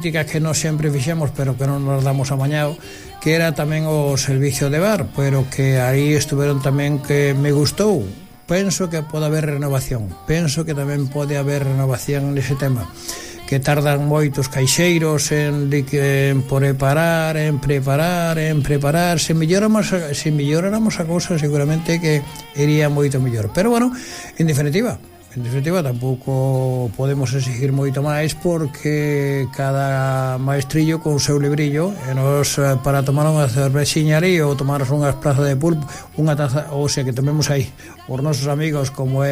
que non sempre fixemos, pero que non nos damos amañado, que era tamén o servicio de bar, pero que aí estuveron tamén, que me gustou. Penso que pode haber renovación, penso que tamén pode haber renovación nese tema, que tardan moitos caixeiros en preparar, se melloráramos a cousa, seguramente que iría moito mellor. Pero bueno, en definitiva tampouco podemos exigir moito máis, porque cada maestrillo con o seu librillo, e nos para tomar unha cervexiña ali ou tomarnos unhas plazas de pulpo, unha taza, ou sea, que tomemos aí os nosos amigos, como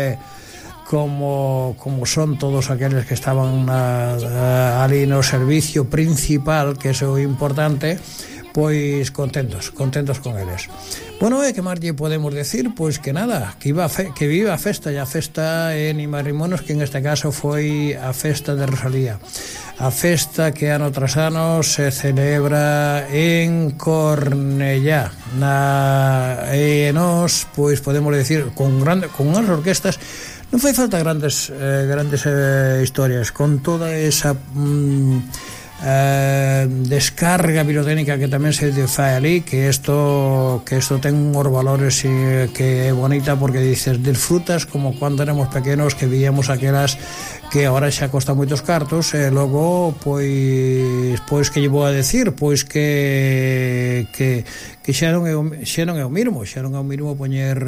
son todos aqueles que estaban ali no servicio principal, que é o importante, pois contentos con eles. Bueno, que máis lle podemos decir? Pois que nada, que viva a festa, e a festa en Imarrimonos, que en este caso foi a festa de Rosalía, a festa que ano tras ano se celebra en Cornellá, e nos, pois podemos decir, con unhas orquestas. Non fai falta grandes historias, con toda esa descarga pirotécnica que tamén se fai ali, que isto ten uns valores, que é bonita, porque dices, disfrutas como cando éramos pequenos, que víamos aquelas que agora xa costa moitos cartos, e logo pois que lle vou a decir, pois que xa non é o mesmo poñer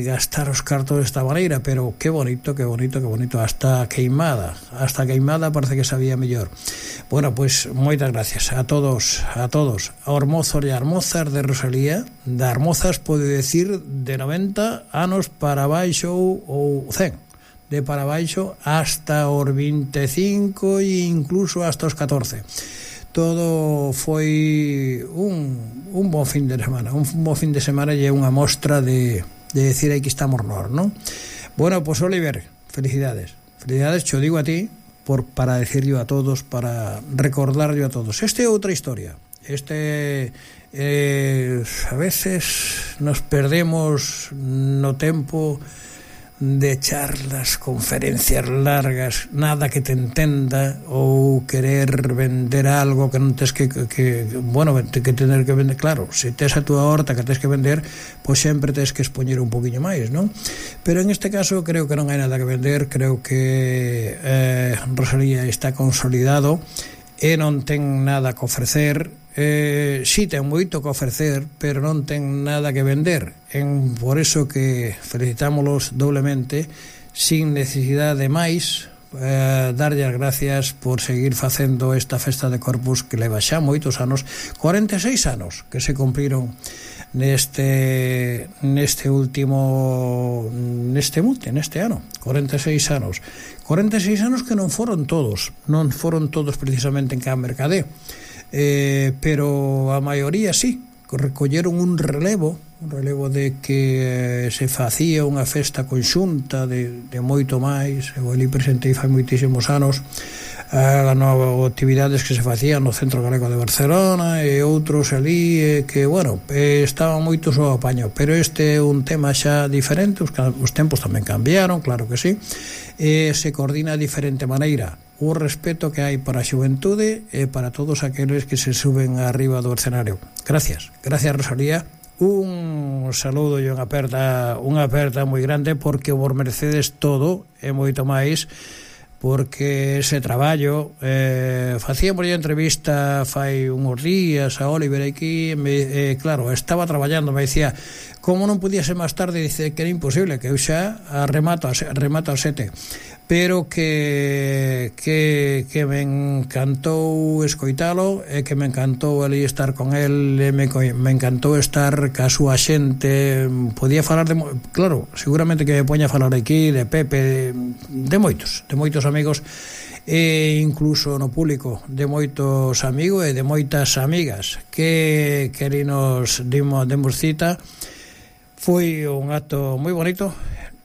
gastar os cartos desta maneira, pero que bonito, hasta queimada parece que sabía mellor. Bueno, pois moitas gracias a todos, aos mozos e as mozas de Rosalía, das mozas, pode decir, de 90 anos para baixo, ou 100 de para baixo, hasta os 25 e incluso hasta os 14. Todo foi un bon fin de semana, e unha mostra de decir, aquí estamos nós, non? Bueno, pois Oliver, felicidades, cho digo a ti, para decirlo a todos, para recordarlo a todos. Esta é outra historia, a veces nos perdemos no tempo de charlas, conferencias largas, nada que te entenda, ou querer vender algo que non tes que tener que vender. Claro, se tes a túa horta que tes que vender, pois sempre tes que expoñer un poquinho máis, non? Pero en este caso creo que non hai nada que vender, creo que Rosalía está consolidado e non ten nada que ofrecer. Si ten moito que ofrecer, pero non ten nada que vender, por eso que felicitámolos doblemente, sin necesidade de máis, darlle as gracias por seguir facendo esta festa de Corpus, que leva xa moitos anos, 46 anos que se cumpriron neste ano, 46 anos que non foron todos precisamente en Can Mercadé, pero a maioría sí, recolleron un relevo de que se facía unha festa conxunta de moito máis. Eu ali presentei fai moitísimos anos as novas actividades que se facían no Centro Galego de Barcelona, e outros ali que, bueno, estaban moito ao apaño, pero este é un tema xa diferente, os tempos tamén cambiaron, claro que sí, e se coordina de diferente maneira. O respeto que hai para a xuventude e para todos aqueles que se suben arriba do escenario. Gracias Rosalía, un saludo e unha aperta moi grande, porque vos merecedes todo e moito máis, porque ese traballo, facíamos a entrevista fai uns días a Oliver aquí, claro, estaba traballando, me dicía, como non podía ser máis tarde, dice que era imposible, que eu xa remato a 7, pero que me encantou escoitalo, e que me encantou ali estar con el, me encantou estar ca súa xente. Podía falar claro, seguramente que me poña a falar aquí de Pepe, de moitos amigos, e incluso no público de moitos amigos e de moitas amigas que nos demos cita. Foi un acto moi bonito,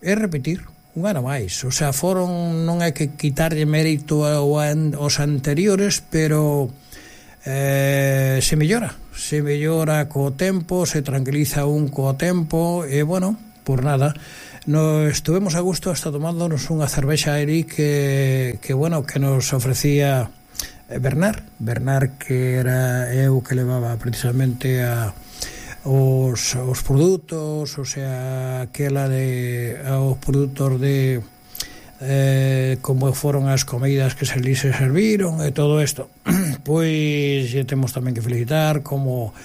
e repetir un ano máis, o sea, non hai que quitarlle mérito aos anteriores, pero se mellora co tempo, se tranquiliza un co tempo, e bueno, por nada, estuvemos a gusto hasta tomándonos unha cervexa aí que nos ofrecía Bernard, que era eu que levaba precisamente os produtos, o sea, aquela os produtos de como foron as comidas que se serviron e todo isto. Pois temos tamén que felicitar como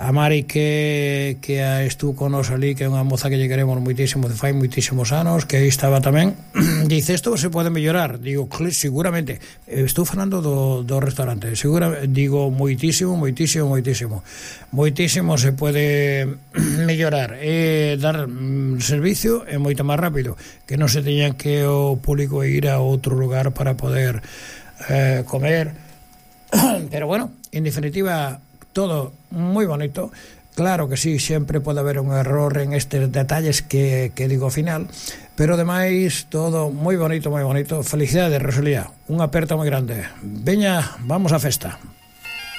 a Mari que estuvo con nos ali, que é unha moza que lle queremos moitísimo, fai moitísimos anos, que aí estaba tamén. Dice, isto se pode mellorar. Digo, seguramente. Estou falando do restaurante. Digo, moitísimo se pode mellorar e dar servicio e moito máis rápido, que non se teñan que o público ir a outro lugar para poder comer. Pero bueno, en definitiva, todo moi bonito. Claro que sí, sempre pode haber un error en estes detalles que digo ao final, pero ademais todo moi bonito. Felicidades, Rosalía, unha aperta moi grande. Veña, vamos á festa.